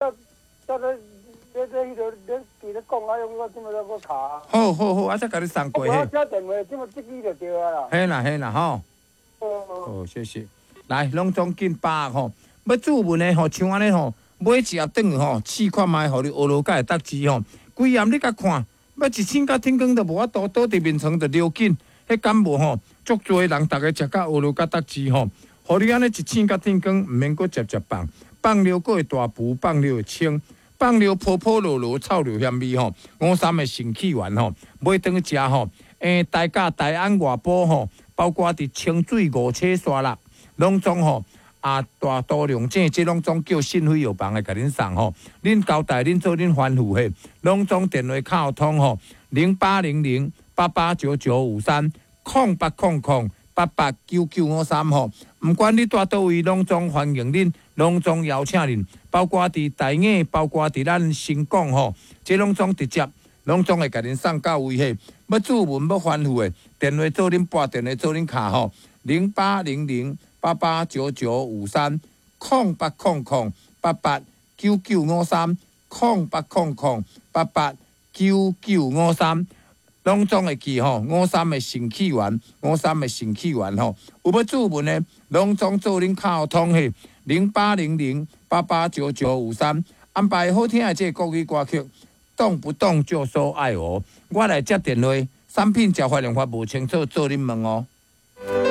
這這這這彼個你佇咧講啊，我這馬才閣敲。好好好，我才共你送過。我寫電話，這馬這支就對啊啦。嘿啦嘿啦吼。好，謝謝。來，攏總緊把握吼，欲注文的吼，像按呢吼，買一盒轉去吼，試看覓，予你學落才會得知吼。規暗你共看，欲一醒到天光都無法度，倒佇眠床就尿緊，彼敢無吼？足濟人逐家食甲學落甲得知吼，予你按呢一醒到天光，毋免閣接接放，放尿閣會大浮，放尿會清，放尿泡泡落落，臭尿嫌味吼。五三的腎氣丸吼，買轉去食吼。台甲大安外埔吼，包括佇清水五車沙啦，攏總吼啊大都龍井，這攏總叫信輝藥房會共恁送吼。恁交代恁做恁吩咐嘿，攏總電話敲通吼，0800889953，0800889953吼。毋管你蹛佗位，攏總歡迎恁，攏總邀請恁，包括佇大雅，包括佇咱新港吼，這攏總直接，攏總會共恁送到位嘿。欲注文欲吩咐的，電話做恁撥，電話做恁敲吼，0800889953，0800889953，0800889953，攏總會記吼。五三的腎氣丸，五三的腎氣丸吼，有欲注文的，攏總做恁敲通嘿，0800889953，安排好聽的這個國語歌曲。動不動就說愛我，我來接電話，產品食法用法無清楚，做恁問哦。